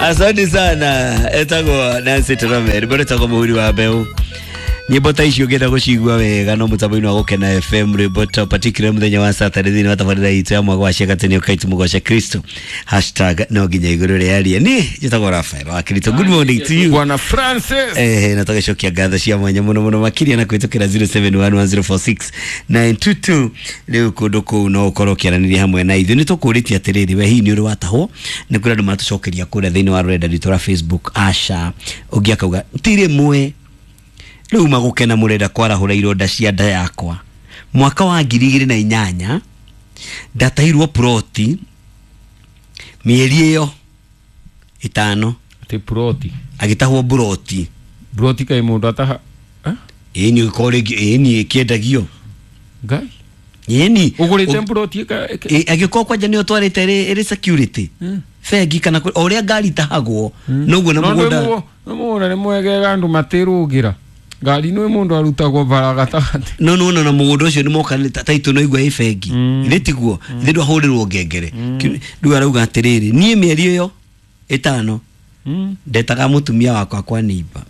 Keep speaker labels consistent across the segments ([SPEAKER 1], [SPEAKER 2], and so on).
[SPEAKER 1] Asante sana etagwo Nancy Trome rwĩmbo rwĩtagwo mũhuri wa mbeũ. Nyĩmbo ta icio ũngĩenda gũcigua wega no mũtambo-inĩ wa Gũkena FM, rwĩmbo ta particular mũthenya wa Saturday thĩinĩ wa tabarĩra itũ ya mwaka wa ciakatĩ nĩ ũkai tũmũgoce Kristo hashtag no nginya igũrũ rĩarie. Niĩ njĩtagwo Rafael wa Kristo. Good morning to you
[SPEAKER 2] Bwana Francis.
[SPEAKER 1] Na tũgĩcokia ngatho cia mwanya mũno mũno makĩria na kũhĩtũkĩra 0711046922. Rĩu kũndũ kũu no ũkorwo ũkĩaranĩria hamwe na ithuĩ. Nĩ tũkũrĩtie atĩrĩrĩ, we hihi nĩ ũrĩ watahwo? Nĩ kũrĩ andũ matũcokeria kũrĩa thĩinĩ wa rũrenda rwitũ rwa Facebook. Asha ũngĩ akauga ti rĩmwe rĩu magũkena mũrenda kwarahũra ironda cia nda yakwa. Mwaka wa 2008 ndatahirwo ploti mĩeri ĩyo 5.
[SPEAKER 2] Ati ploti.
[SPEAKER 1] Agĩtahwo ploti.
[SPEAKER 2] Ploti kai mũndũ ataha.
[SPEAKER 1] Ĩni ũkorwo rĩngĩ ĩni ĩkĩendagio.
[SPEAKER 2] Ngai.
[SPEAKER 1] Ĩni.
[SPEAKER 2] Ũgũrĩte ploti ĩka.
[SPEAKER 1] Angĩkorwo kwanja nĩ ũtwarĩte ĩrĩ security. Bengi kana o ũrĩa ngari itahagwo noguo na mũgũnda.
[SPEAKER 2] No mũgũnda nĩ mwegega andũ matĩrũgĩra. Ngari nĩ mũndũ arutagwo bara gatagatĩ.
[SPEAKER 1] No no no na mũgũnda ũcio nĩ moka taitũ no igua ĩ bengi. Ithĩ tiguo ithĩ ndwahũrĩrwo ngengere. Rĩu arauga atĩrĩrĩ, niĩ mĩeri ĩyo 5 ndetaga mũtumia wakwa kwa neighbor.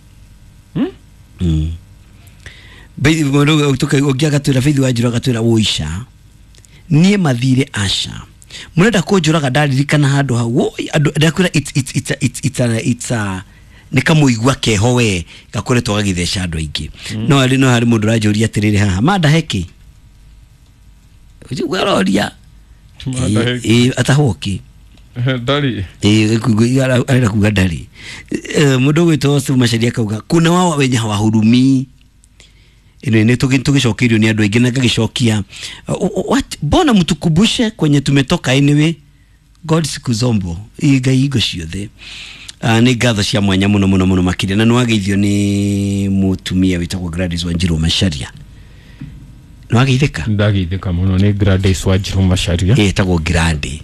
[SPEAKER 1] Ũngĩ agatwĩra Faith Wanjiru agatwĩra ũica niĩ mathire aca mũrenda kũnjũraga ndaririkana handũ hau. Woi andũ ndakwĩra it's a nĩ kamũigua keho we gakoretwo gagĩtheca andũ aingĩ. No harĩ no harĩ mũndũ ũranjũria atĩrĩrĩ haha manda heki ũcio aroria atahwo kĩ
[SPEAKER 2] ndarĩ
[SPEAKER 1] arenda kuga ndarĩ. Mũndũ ũgwĩtwo Steve Macharia akauga kuna wao wenye hawahurumii. Ino nĩ tũgĩcokeirio nĩ andũ aingĩ na ngagĩcokia mbona mtukubushe kwenye tumetoka anyway. God sikuzombo Ngai ingo ciothe. Nĩ ngatho cia mwanya mũno mũno mũno makĩria na nĩwageithio nĩ mũtumia wĩtagwo Gladys Wanjiru Macharia. Nĩwageithĩka?
[SPEAKER 2] Ndageithĩka mũno nĩ Gladys Wanjiru Macharia.
[SPEAKER 1] Ĩtagwo Grande.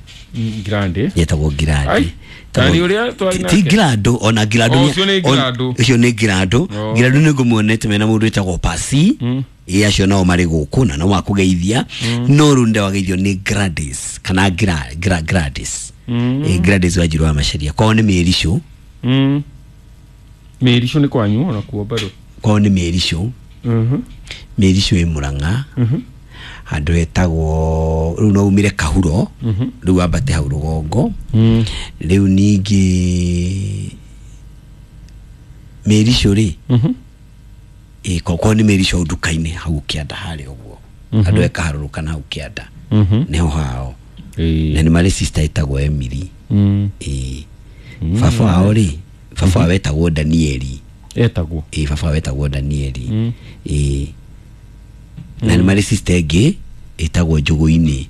[SPEAKER 2] Grande.
[SPEAKER 1] Ĩtagwo Grande.
[SPEAKER 2] Tani ũrĩa twari nake.
[SPEAKER 1] Ti Grado ona Grado.
[SPEAKER 2] Ũcio nĩ Grado.
[SPEAKER 1] Ũcio nĩ Grado. Grado nĩ ngũmuonete mena mũndũ wĩtagwo Pasi. Ĩ acio nao marĩ gũkũ na no makũgeithia. No rĩu nĩwageithio nĩ Gladys kana Gladys. Gladys Wanjiru wa Macharia. Kwao nĩ Mĩricũ.
[SPEAKER 2] Mĩricũ nĩ kwanyu ona kuo bado?
[SPEAKER 1] Kwao nĩ Mĩricũ. Mĩricũ ĩ Mũrang'a. Handũ hetagwo rĩu no umire Kahuro rĩu wambate hau rũgongo. Rĩu ningĩ Mĩricũ rĩ kwao nĩ Mĩricũ nduka-inĩ hau kĩanda harĩa ũguo. Andũ ekaharũrũka na hau kĩanda. Nĩho hao. Na nĩ marĩ sister ĩtagwo Emily. Baba wao rĩ, baba wao etagwo Danieli.
[SPEAKER 2] Etagwo?
[SPEAKER 1] Baba wao etagwo Danieli. Na nĩ marĩ sister ĩngĩ ĩtagwo Njũgũ-inĩ.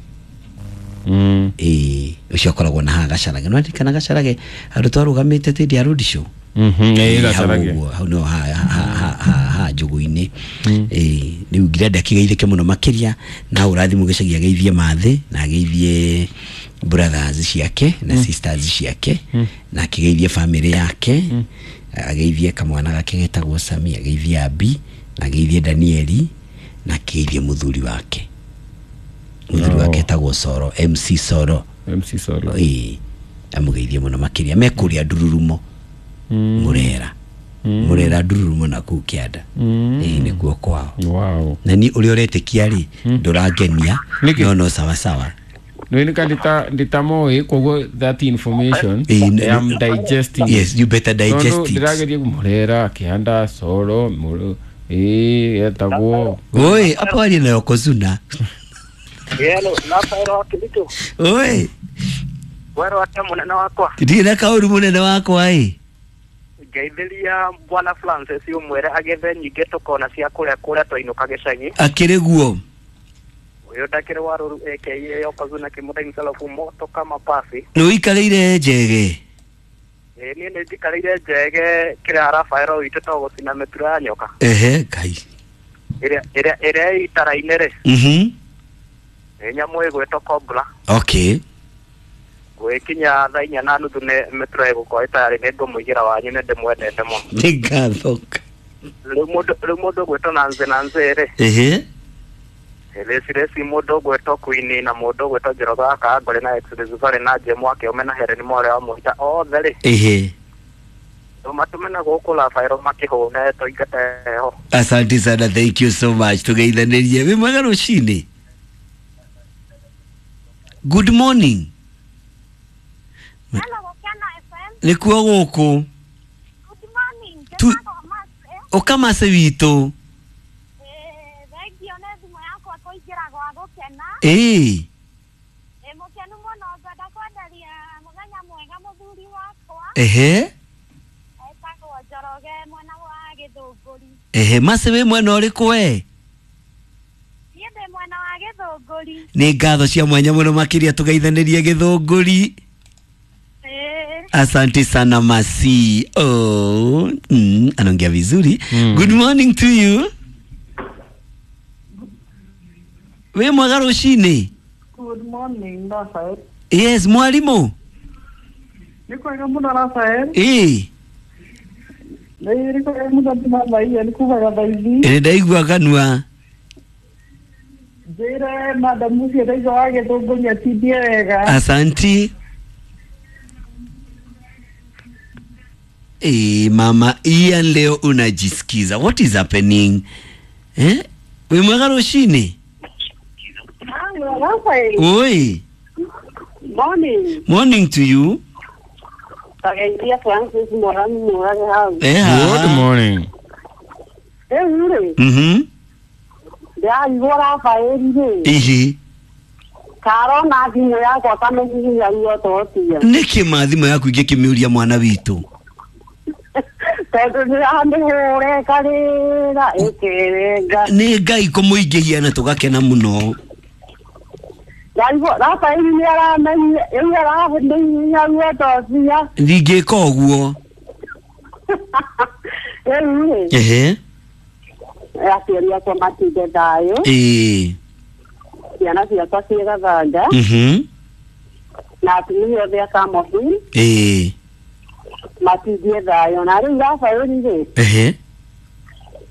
[SPEAKER 1] Ũcio akoragwo na haha Gacarage. Nĩwaririkana Gacarage handũ twarũgamĩte tĩndĩ ya road show?
[SPEAKER 2] Gacarage.
[SPEAKER 1] Hau no ha Njũgũ-inĩ. Rĩu ngirenda akĩgeithĩke mũno makĩria na ũrathimwo gĩcagi ageithie Mathĩ na ageithie brothers ciake na sisters ciake na akĩgeithie family yake, ageithie kamwana gake getagwo Sami, ageithie Abi na ageithie Danieli na akĩgeithie mũthuri wake. Mũthuri wake etagwo Soro, MC Soro.
[SPEAKER 2] MC Soro.
[SPEAKER 1] Amũgeithie mũno makĩria. Me kũrĩa Ndururumo. Mũrera. Mũrera Ndururumo na kũu kĩanda. Nĩkuo kwao.
[SPEAKER 2] Wow.
[SPEAKER 1] Na niĩ ũrĩa ũretĩkia rĩ ndũrangenia no no sawa sawa.
[SPEAKER 2] No nika nditamoĩ koguo that information I am digesting.
[SPEAKER 1] Yes, you better digest it.
[SPEAKER 2] Ndĩrageria Mũrera kĩanda Soro etagwo.
[SPEAKER 1] Oi, hapo ali na Yokozuna.
[SPEAKER 3] Hello, Rafael wa Kilitu.
[SPEAKER 1] Oi.
[SPEAKER 3] Wero ate munene wakwa.
[SPEAKER 1] Ndirĩ na kaũru munene wakwa ĩ.
[SPEAKER 3] Ngeithĩria Bwana Francis ũmwĩre agethe nyingĩ tũkona cia kũrĩa kũrĩa twainũka gĩcagi.
[SPEAKER 1] Akĩrĩ guo.
[SPEAKER 3] Ũyũ ndakĩrĩ wa rũru aka Yokozuna kĩmũthai msalafu moto kama pasi.
[SPEAKER 1] Nĩ ũikarĩire njege?
[SPEAKER 3] Niĩ nĩ njikarĩire njege kĩrĩa Rafael witũ to gũcina mĩturo ya nyoka.
[SPEAKER 1] Ehe, Ngai.
[SPEAKER 3] Ĩrĩa itara-inĩ rĩ. Nĩ nyamũ ĩgwĩtwo cobra.
[SPEAKER 1] Okay.
[SPEAKER 3] Gwĩkinya thaa 4:30 nĩ mĩturo ĩgũkorwo ĩtayarĩ nĩ ngũmũigĩra wanyu nĩ ndĩmwendete mũno.
[SPEAKER 1] Nĩ ngatho.
[SPEAKER 3] Rĩu mũndũ ũgwĩtwo Nancy Nancy rĩ.
[SPEAKER 1] Ehe.
[SPEAKER 3] Reci mũndũ ũgwĩtwo Queen na mũndũ ũgwĩtwo Njoroge wa Kangore na Exodus Valley na Jemu Akĩũme na Helen Mware wa Mũhita othe rĩ.
[SPEAKER 1] Ehe.
[SPEAKER 3] Matũme na gũkũ Rafaelo makĩhũne tũingate heho.
[SPEAKER 1] Asante sana, thank you so much. Tugeithanirie. Wĩ mwega rũcinĩ. Good morning.
[SPEAKER 4] Hello, Gũkena FM.
[SPEAKER 1] Nĩkuo gũkũ.
[SPEAKER 4] Good morning. Njĩtagwo Mercy.
[SPEAKER 1] Ũkamase witũ.
[SPEAKER 4] Thengio nĩ thimũ yakwa kũingĩra gwa Gũkena.
[SPEAKER 1] Ĩĩ.
[SPEAKER 4] Ndĩ mũkenu mũno, ngwenda kwenderia mũthenya mwega mũthuri wakwa.
[SPEAKER 1] Ehe.
[SPEAKER 4] Etagwo Njoroge mwena wa Gĩthũngũri.
[SPEAKER 1] Ehe, Mercy wĩ mwena ũrĩkũ we?
[SPEAKER 4] Niĩ ndĩ mwena wa Gĩthũngũri.
[SPEAKER 1] Nĩ ngatho cia mwanya mũno makĩria tũgeithanĩrie Gĩthũngũri.
[SPEAKER 4] Ĩĩ.
[SPEAKER 1] Asante sana Masi. Oh, anaongea vizuri. Good morning to you. Wĩ mwega rũcinĩ.
[SPEAKER 5] Good morning, Rafael.
[SPEAKER 1] Yes, mwalimu.
[SPEAKER 5] Nĩ kwega mũno Rafael.
[SPEAKER 1] Ĩĩ.
[SPEAKER 5] Nĩ kwega mũno ndĩmathaia nĩ kugaga thaa ici.
[SPEAKER 1] Ĩ ndaigua kanua.
[SPEAKER 5] Njĩre madamu ũcio ndaigua wa Gĩthũngũri atindie wega.
[SPEAKER 1] Asanti. Mama Ian leo unajisikiza. What is happening? Eh? Wĩ mwega rũcinĩ.
[SPEAKER 5] Rafael.
[SPEAKER 1] Oi.
[SPEAKER 5] Morning.
[SPEAKER 1] Morning to you.
[SPEAKER 5] Tageithia Francis Morani Mũrage hau.
[SPEAKER 1] Eh, haha.
[SPEAKER 2] Good morning.
[SPEAKER 5] Rĩu rĩ, ndĩraigua Rafael rĩ,
[SPEAKER 1] Ihi.
[SPEAKER 5] karona thimũ yakwa kamĩhihinya ruototia.
[SPEAKER 1] Nĩkĩ ma thimũ yaku ingĩkĩmĩũria mwana witũ?
[SPEAKER 5] Tondũ ndĩramĩhũra ĩkarĩra ĩkĩrenga.
[SPEAKER 1] Nĩ Ngai kũmũingĩhia na tũgakena mũno.
[SPEAKER 5] Ndaigua Rafael nĩ aramenya, rĩu aramĩhihinya ruototia.
[SPEAKER 1] Ndingĩka ũguo.
[SPEAKER 5] Rĩu rĩ,
[SPEAKER 1] Ehe.
[SPEAKER 5] aciari akwa matinde thayũ,
[SPEAKER 1] Ĩĩ.
[SPEAKER 5] ciana ciakwa ciĩ Gathanga, na atumia othe a Kamohi
[SPEAKER 1] Ĩĩ.
[SPEAKER 5] matindie thayũ. Na rĩu Rafael rĩ,
[SPEAKER 1] Ehe.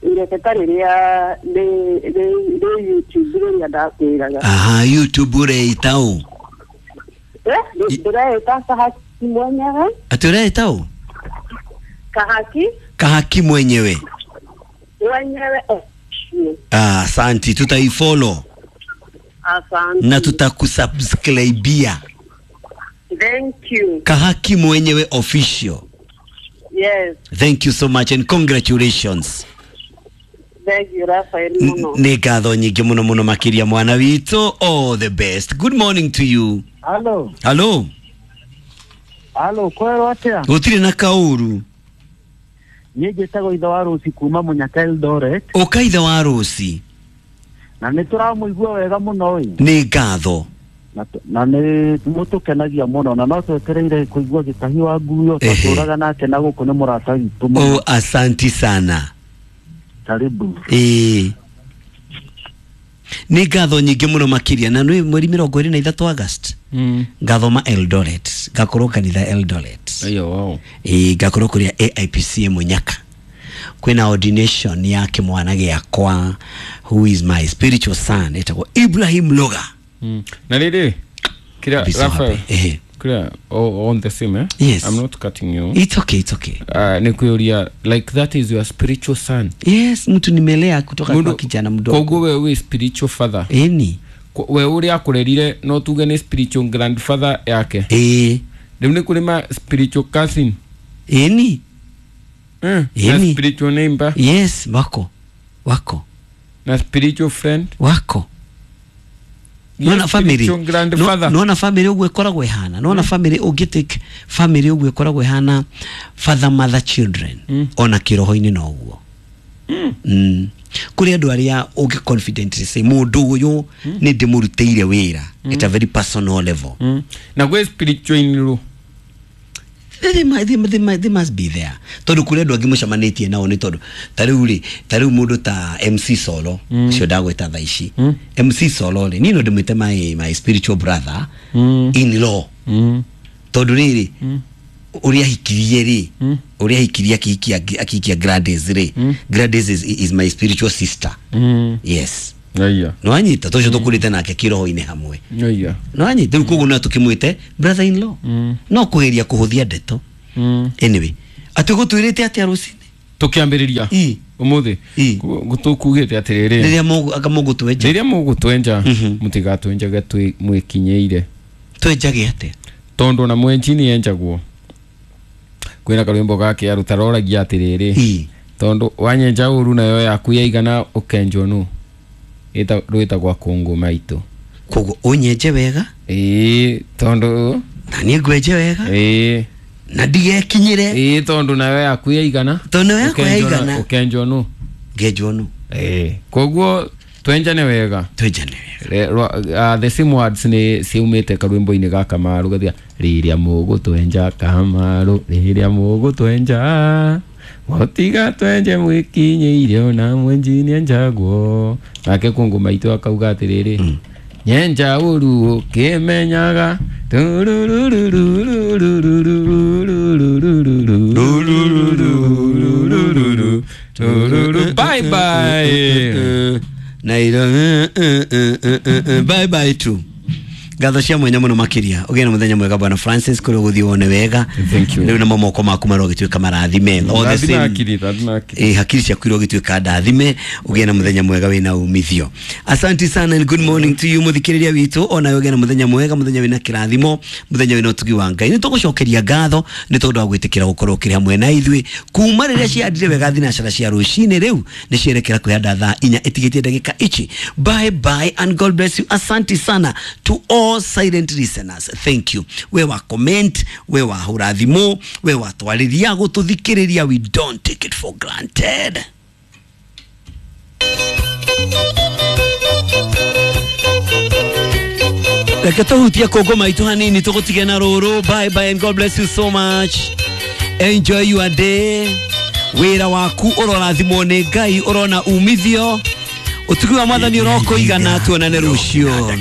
[SPEAKER 5] ireke rĩrĩa rĩ YouTube rĩrĩa ndakwĩraga.
[SPEAKER 1] Aha, YouTube ũreita ũ?
[SPEAKER 5] Ndĩreĩta Kahaki mwenyewe.
[SPEAKER 1] Atĩ ũreita ũ?
[SPEAKER 5] Kahaki
[SPEAKER 1] Kahaki mwenyewe.
[SPEAKER 5] mwenyewe.
[SPEAKER 1] Ah, asanti, tutaifollow
[SPEAKER 5] Asante.
[SPEAKER 1] na tutakusubscribia.
[SPEAKER 5] Thank you.
[SPEAKER 1] Kahaki mwenyewe official.
[SPEAKER 5] Yes,
[SPEAKER 1] Thank you so much and congratulations.
[SPEAKER 5] thank you Rafael mũno.
[SPEAKER 1] Nĩ ngatho nyingĩ mũno mũno makĩria mwana witũ. All the best. Good morning to you.
[SPEAKER 6] Halo,
[SPEAKER 1] Hello.
[SPEAKER 6] halo, kwerwo atia?
[SPEAKER 1] Gũtirĩ na kaũru.
[SPEAKER 6] Niĩ njĩtagwo ithe wa Rũci kuma Mũnyaka Eldoret,
[SPEAKER 1] Ũka ithe wa Rũci.
[SPEAKER 6] na nĩ tũramũigua wega mũno ĩ,
[SPEAKER 1] Nĩ ngatho.
[SPEAKER 6] na nĩ mũtũkenagia mũno, na no twetereire kũigua gĩtahi wa nguo
[SPEAKER 1] Ehe.
[SPEAKER 6] twatũraga nake na gũkũ nĩ mũrata witũ mũno.
[SPEAKER 1] Oh, asanti sana.
[SPEAKER 6] Karibu.
[SPEAKER 1] Ĩĩ. Nĩ ngatho nyingĩ mũno makĩria na nĩ mweri 23 August. Ngathoma Eldoret, ngakorwo kanitha Eldoret.
[SPEAKER 2] Ayo, wow.
[SPEAKER 1] Ĩĩ, ngakorwo kũrĩa AIPCA Mũnyaka. Kwĩna ordination ya kĩmwana gĩakwa who is my spiritual son etagwo Ibrahim Loga.
[SPEAKER 2] Na rĩrĩ, kira
[SPEAKER 1] Be so
[SPEAKER 2] Rafael,
[SPEAKER 1] happy. Ehe.
[SPEAKER 2] kira on the same, eh?
[SPEAKER 1] Yes.
[SPEAKER 2] I'm not cutting you.
[SPEAKER 1] It's okay, it's okay.
[SPEAKER 2] Nĩ kwĩũria like that is your spiritual son.
[SPEAKER 1] Yes, mtu nimelea kutoka kwa kijana mdogo.
[SPEAKER 2] Koguo we wĩ spiritual father.
[SPEAKER 1] Ĩni.
[SPEAKER 2] We ũrĩa akũrerire no tuge nĩ spiritual grandfather yake.
[SPEAKER 1] Ĩĩ.
[SPEAKER 2] Rĩu nĩ kũrĩ ma spiritual cousin.
[SPEAKER 1] Ĩni.
[SPEAKER 2] Na
[SPEAKER 1] Ĩni.
[SPEAKER 2] spiritual neighbor
[SPEAKER 1] Yes, wako. Wako.
[SPEAKER 2] na spiritual friend.
[SPEAKER 1] Wako.
[SPEAKER 2] Yes,
[SPEAKER 1] Nona family.
[SPEAKER 2] spiritual grandfather.
[SPEAKER 1] Nona family ũguo ĩkoragwo ĩhana. Nona family ũngĩtake family ũguo ĩkoragwo ĩhana father mother children. Ona kĩroho-inĩ no ũguo. Kũrĩ andũ arĩa ũngĩ confidently say mũndũ ũyũ nĩ ndĩmũrutĩire wĩra at a very personal level.
[SPEAKER 2] Na gwĩ spiritual in-law.
[SPEAKER 1] They must be there tondũ kũrĩ andũ angĩ mũcemanĩtie nao nĩ tondũ ta rĩu rĩ ta rĩu mũndũ ta MC Solo ũcio ndagwĩta thaa ici MC Solo rĩ niĩ no ndĩmwĩte my spiritual brother in law tondũ rĩrĩ ũrĩa ahikirie rĩ ũrĩa ahikirie akihikia Gladys rĩ Gladys is my spiritual sister. Yes.
[SPEAKER 2] Aya.
[SPEAKER 1] Nĩwanyita tũcio tũkũrĩte nake kĩroho-inĩ hamwe.
[SPEAKER 2] Aya.
[SPEAKER 1] Nĩwanyita rĩu koguo no tũkĩmwĩte brother in law, no kũgeria kũhũthia ndeto. Anyway, atĩ gũtwĩrĩte atĩa rũcinĩ?
[SPEAKER 2] Tukiambĩrĩria
[SPEAKER 1] Ĩ.
[SPEAKER 2] ũmũthĩ
[SPEAKER 1] Ĩ.
[SPEAKER 2] tũkugĩte atĩrĩrĩ,
[SPEAKER 1] rĩrĩa anga mũgũtwenja,
[SPEAKER 2] rĩrĩa mũgũtwenja, mũtigatwenjage mwĩkinyĩire.
[SPEAKER 1] Twenjage atĩa?
[SPEAKER 2] Tondũ ona mwenji nĩ enjagwo. Kwĩna karwĩmbo gake aruta roragia atĩrĩrĩ, tondũ wanyenja ũru nayo yaku yaigana ũkenjwo nũ. Rwĩtagwo kũngũ maitũ.
[SPEAKER 1] Koguo ũnyenje wega.
[SPEAKER 2] Ĩĩ, tondũ
[SPEAKER 1] na niĩ ngwenje wega.
[SPEAKER 2] Ĩĩ.
[SPEAKER 1] Na ndigekinyĩre.
[SPEAKER 2] Ĩĩ, tondũ nayo yaku yaigana.
[SPEAKER 1] Tondũ nayo yakwa yaigana.
[SPEAKER 2] Ũkenjwo nũ.
[SPEAKER 1] Ngenjwo nũ.
[SPEAKER 2] Ĩĩ, koguo twenjane wega.
[SPEAKER 1] Twenjane wega.
[SPEAKER 2] The same words nĩ ciumĩte karwĩmbo-inĩ ga Kamaru gathia rĩrĩa mũgũtwenja Kamaru, rĩrĩa mũgũtwenja mũtiga twenje mwĩkinyĩire ona mwenji nĩenjagwo. Nake kũngũ maitũ akauga atĩrĩrĩ, nyenja ũru ũkĩmenyaga. Bye bye.
[SPEAKER 1] Na iro bye bye tu. Ngatho cia mwanya muno makiria. Ũgĩe na mũthenya mwega, bwana Francis, kũrĩa ũgũthiĩ wone wega.
[SPEAKER 2] Thank you.
[SPEAKER 1] Rĩu namo moko maku marogĩtuĩka marathime. All the
[SPEAKER 2] Rathima
[SPEAKER 1] same.
[SPEAKER 2] akili, rathima akili.
[SPEAKER 1] Eh, hakiri ciaku irogĩtuĩka ndathime. Ũgĩe na mũthenya mwega wĩna umithio. Asante sana and good morning to you, mũthikĩrĩria witũ. Onawe ũgĩe na mũthenya mwega, mũthenya wĩna kĩrathimo, mũthenya wĩna ũtugi wa Ngai. Nĩ tũgũcokeria ngatho nĩ tondũ wa gwĩtĩkĩra gũkorwo ũkĩrĩ hamwe na ithuĩ kuma rĩrĩa ciandire wega thinacara cia rũcinĩ. Rĩu nĩ cierekera kwĩhanda thaa 4 ĩtigĩtie ndagĩka ici. Bye bye and God bless you. Asante sana to all silent listeners, thank you. We wa comment, we wa hũra thimũ, we wa twarĩria gũtũthikĩrĩria, we don't take it for granted. Reke tũhutie kũngũ maitũ hanini tũgũtige na rũrũ. Bye bye and God bless you so much. Enjoy your day. Wĩra waku ũrorathimwo nĩ Ngai, ũrona umithio. Ũtugi wa Mwathani ũrokũigana. Tuonane rũciũ.